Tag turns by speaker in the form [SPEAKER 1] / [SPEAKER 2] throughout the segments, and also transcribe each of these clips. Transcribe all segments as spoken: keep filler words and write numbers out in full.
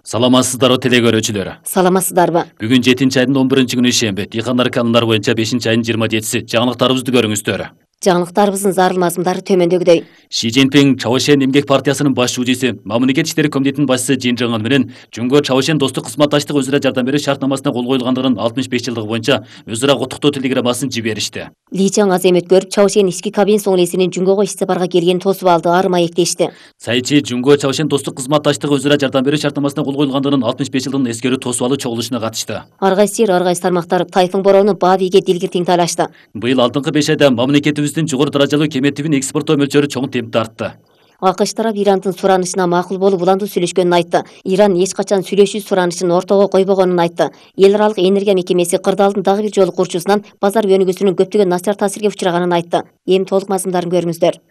[SPEAKER 1] Саламатсыздарбы теле көрүүчүлөр.
[SPEAKER 2] Саламатсыздарбы.
[SPEAKER 1] Бүгүн жетинчи айдын он биринчи күнү ишемби. Дыйкандар канундар боюнча бешинчи айдын жыйырма жетиси. Жаңылыктарыбызды көрүңүздөр.
[SPEAKER 2] Жаңылыктарыбыздын зарыл мазмундары төмөндөгүдөй.
[SPEAKER 1] Ши Цзиньпин Чавошен эмгек партиясынын баш шүүжүсү, Мамлекет иштери комитетинин башчысы Жин Жыңын менен Жумго Чавошен достук кызматташтык өзара жардам берүү шартнамасына кол коюлгандыгынын алтымыш беш жылдыгы боюнча өз ара куттуктоо телеграммасын жиберишти.
[SPEAKER 2] Ли Чаң аземет көрүп, Чавошен ички кабинет соңлесинин Жумгого иш сапарга келгенин тосуп алды, ары маектешти.
[SPEAKER 1] Сайчы Жумго Чавошен достук кызматташтыгы өзара жардам берүү шартнамасына кол коюлгандыгынын алтымыш беш жылдыгын эскерүү тосуп алуу чогулушуна катышты.
[SPEAKER 2] Ар кайсы жер, ар кайсы тармактар Тайфун бороону баа бийге дилгир тең талашты.
[SPEAKER 1] Быйыл алдыңкы беш айда мамлекетибиздин жогору даражалуу кеметибин экспорттоо мөлчөрү чоң темпте артты.
[SPEAKER 2] АКШ тарап Ирандын суранышына макул болуп уландуу сүйлөшкөнүн айтты. Иран эч качан сүйлөшүү суранышын ортого койбогонун айтты. Эл аралык энергия мекемеси кырдаалдын дагы бир жолу курчусунан базар өнүгүүсүнүн көптөгөн начар таасирге учраганын айтты. Эми толук мазмундарын көрүңүздөр.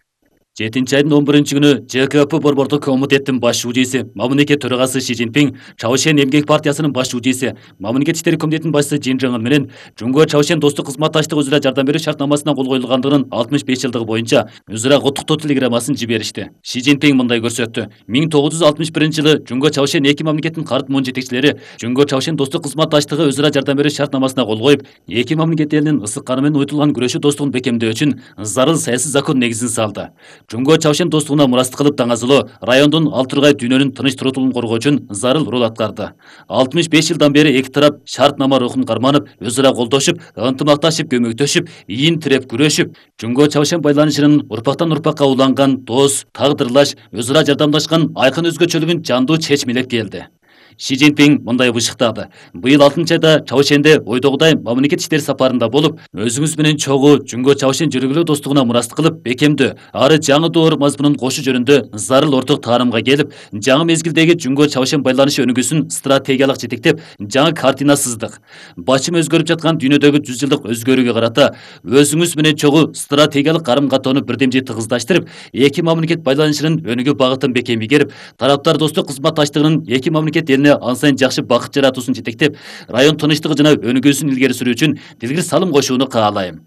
[SPEAKER 1] жетинчи айдын он биринчи күнү Ж К П борбордук комитеттин баш шүүжүсү, Мамлекет төрагасы Ши Цзиньпин, Чавошен эмгек партиясынын баш шүүжүсү, Мамлекет иштери комитетинин башчысы Жин Жыңын менен Жумго Чавошен достук кызматташтык өзара жардам берүү шартнамасына кол коюлгандыгынын алтымыш беш жылдыгы боюнча өз ара куттуктоо телеграммасын жиберишти. Ши Цзиньпин мындай көрсөттү. миң тогуз жүз алтымыш биринчи жылы Жумго Чавошен эки мамлекеттин карт муун жетекчилери Жумго Чавошен достук кызматташтыгы өзара жардам берүү шартнамасына кол коюп, эки мамлекет элинин ысык каны менен уютулган күрөшүү достугун бекемдөө үчүн зарыл саясий закон негизин салды. Жумго Чавошен достугуна мурастык кылып даңазылоо райондун ал тургай дүйнөнүн тыныч турутулуун коргоо үчүн зарыл роль аткарды. алтымыш беш жылдан бери эки тарап шартнама рухун карманып, өз ара колдошуп, ынтымакташып, көмөктөшүп, ийин тиреп күрөшүп, Жумго Чавошен байланышынын урпактан урпакка уланган дос, тагдырлаш, өз ара жардамдашкан айкын өзгөчөлүгүн жандуу чечмелеп келди. Ши Цзиньпин мындай бышыктады. Быйыл алтынчы айда Чавошенде ойдогудай мамлекет иштери сапарында болуп, өзүңүз менен чогуу Жумго Чавошен жүргүлөө достугуна мурастык кылып, бекемдөө, ары жаңы доор мазмунун кошуу жөнүндө зарыл орток таарымга келип, жаңы мезгилдеги Жумго Чавошен байланышы өнүгүүсүн стратегиялык жетектеп, жаңы картина сыздык. Бачым өзгөрүп жаткан дүйнөдөгү жүз жылдык өзгөрүүгө карата өзүңүз менен чогуу стратегиялык карым-катоону бирдемжи тыгыздаштырып, эки мамлекет байланышынын өнүгүү багытын бекем ийгерип, тараптар достук кызматташтыгынын эки мамлекет ан сайын жакшы бакыт жаратуусун жетектеп, район тынчтыгы жана өнүгүүсүн илгери сүрүү үчүн дилгир салым кошууну каалайм.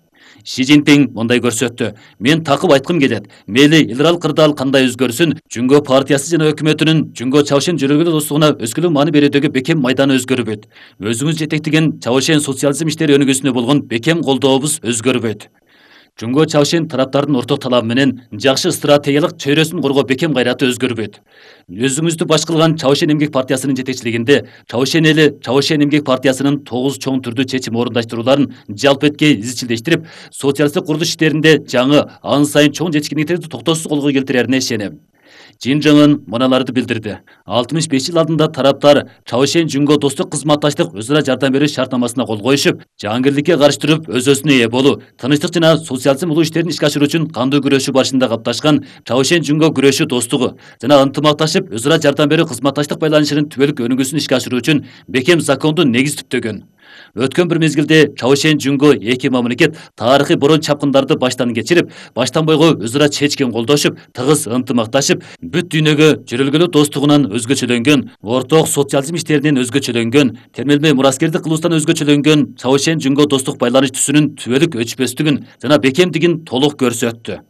[SPEAKER 1] Ши Цзиньпин мындай көрсөттү. Мен такып айткым келет. Мейли эл аралык кырдаал кандай өзгөрсүн, Жумго партиясы жана өкмөтүнүн Жумго Чавошен жүргүлөө достугуна өскөлүү маани берүүдөгү бекем майданы өзгөрбөйт. Өзүңүз жетектеген Чавошен социализм иштери өнүгүүсүнө болгон бекем колдообуз өзгөрбөйт. Жумго Чавошен тараптардын орток талабы менен жакшы стратегиялык чөйрөсүн коргоо бекем кайраты өзгөрбөйт. Өзүңүздү баш кылган Чавошен эмгек партиясынын жетекчилигинде Чавошен эли Чавошен эмгек партиясынын тогуз чоң түрдүү чечим орундаштырууларын жалпыэткей изчилдештирип, социалисттик курулуш иштеринде жаңы, ан сайын чоң жетишкендиктерди токтоосуз колго келтирерине ишенем. Жин Жыңын мыналарды билдирди. алтымыш беш жыл алдында тараптар Чавошен Жумго достук кызматташтык өз ара жардам берүү шартнамасына кол коюшуп, жаангирликке каршы туруп өз-өзүнө ээ болуу, тынчтык жана социализм улуу иштерин ишке ашыруу үчүн кандуу күрөшүү барышында капташкан Чавошен Жумго күрөшүү достугу жана ынтымакташып өз ара жардам берүү кызматташтык байланышынын түбөлүк өнүгүүсүн ишке ашыруу үчүн бекем закондуу негиз түптөгөн. Өткөн бир мезгилде Чавошен Жумго эки мамлекет тарыхый борон чапкындарды баштан кечирип, баштан бойго өз ара чечкен колдошуп, тыгыз ынтымакташып, бүт дүйнөгө жүрөлгөлүү достугунан өзгөчөлөнгөн, орток социализм иштеринен өзгөчөлөнгөн, термелмей мураскердик кылуустан өзгөчөлөнгөн Чавошен Жумго достук байланыш түсүнүн түбөлүк өчпөстүгүн жана бекемдигин толук көрсөттү.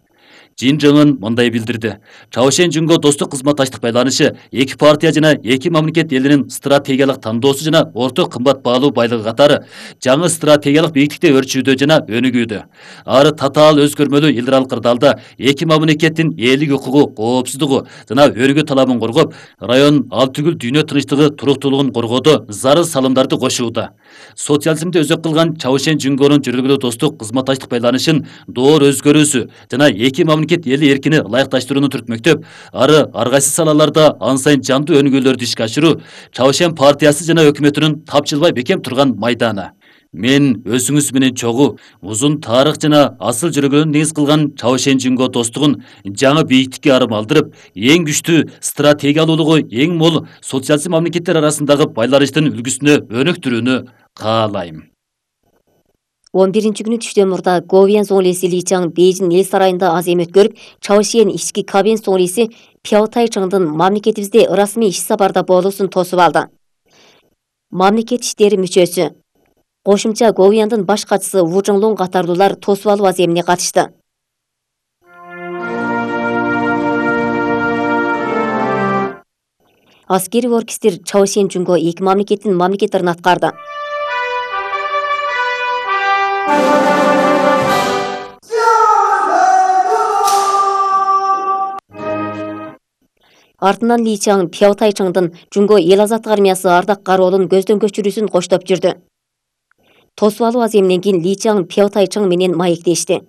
[SPEAKER 1] Жин Жыңын мындай билдирди. Чавошен Жумго достук кызматташтык байланышы эки партия жана эки мамлекет элинин стратегиялык тандоосу жана орток кымбат баалуу байлыгы катары жаңы стратегиялык бийиктикте өрчүүдө жана өнүгүүдө. Ары татаал өзгөрмөлүү эл аралык кырдаалда эки мамлекеттин элдик укугу, коопсуздугу жана өнүгүү талабын коргоп, район ал түгүл дүйнө тынчтыгы, туруктуулугун коргоодо зарыл салымдарды кошууда. Социализмди өзөк кылган Чавошен Жумгонун жүргүлөө достук кызматташтык байланышын доор өзгөрүүсү жана эки мамлекет эли эркини ылайыкташтырууну түртмөктөп, ары ар кайсы салаларда ан сайын жандуу өнүгүүлөрдү ишке ашыруу Чавошен партиясы жана өкмөтүнүн тапчылбай бекем турган майданы. Мен өзүңүз менен чогуу, узун тарых жана асыл жүргүлөөнү негиз кылган Чавошен Жумго достугун жаңы бийиктикке арым алдырып, эң күчтүү стратегиялуулугу эң мол социализм мамлекеттер арасындагы байланыштын үлгүсүнө өнүктүрүүнү каалайм.
[SPEAKER 2] он биринчи күнү түштөн мурда Говьян соңлеси Ли Чаң Бейжин эл сарайында аземет көрүп, Чавошен ички кабинет соңлеси Пяо Тайчыңдын мамлекетибизде ырасмий иш сапарда болуусун тосуп алды. Мамлекет иштери мүчөсү кошумча Говьяндын баш катчысы Ву Чжоңлун катарлуулар тосуп алуу аземине катышты. Аскери оркестр Чаошен Жунго эки мамлекеттин мамлекеттерин аткарды. Артынан Ли Чаң Пяо Тайчыңдын Жунго эл азаттык армиясы ардак кароолун көздөн көчүрүүсүн коштоп жүрдү. Тосуп алуу аземинен кийин Ли Чаң Пяо Тайчың менен маектешти.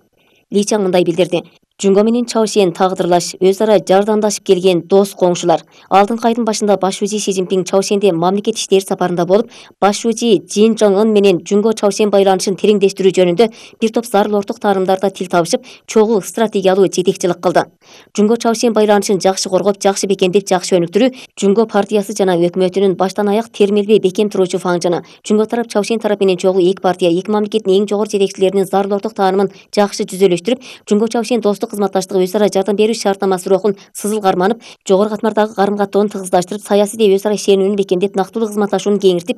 [SPEAKER 2] Ли Чаң мындай билдирди: Жунго менен Чаошен тагдырлаш, өз ара жардамдашып келген дос коңшулар. Алдыңкы айдын башында баш шужи Си Цзиньпин Чаошенде мамлекет иштери сапарында болуп, баш шужи Чжин Чжың-ын менен Жунго Чаошен байланышын тереңдештирүү жөнүндө бир топ зарыл орток таарымдарда тил табышып, чогуу стратегиялуу жетекчилик кылды. Жунго Чаошен байланышын жакшы коргоп, жакшы бекемдеп, жакшы өнүктүрүү Жунго партиясы жана өкмөтүнүн баштан аяк термелбей бекем туруучу фаңжыны. Жунго тарап Чаошен тарап менен чогуу эки партия, эки мамлекеттин эң жогору жетекчилеринин зарыл орток таанымын жакшы жүзөлөштүрүп, Жунго Чаошен достук кызматташтык өз ара жардам берүү шартнамасы рухун сызыл карманып, жогору катмардагы карым каттоону тыгыздаштырып, саясий де өз ара ишенүүнү бекемдеп, нактылуу кызматташууну кеңиртип,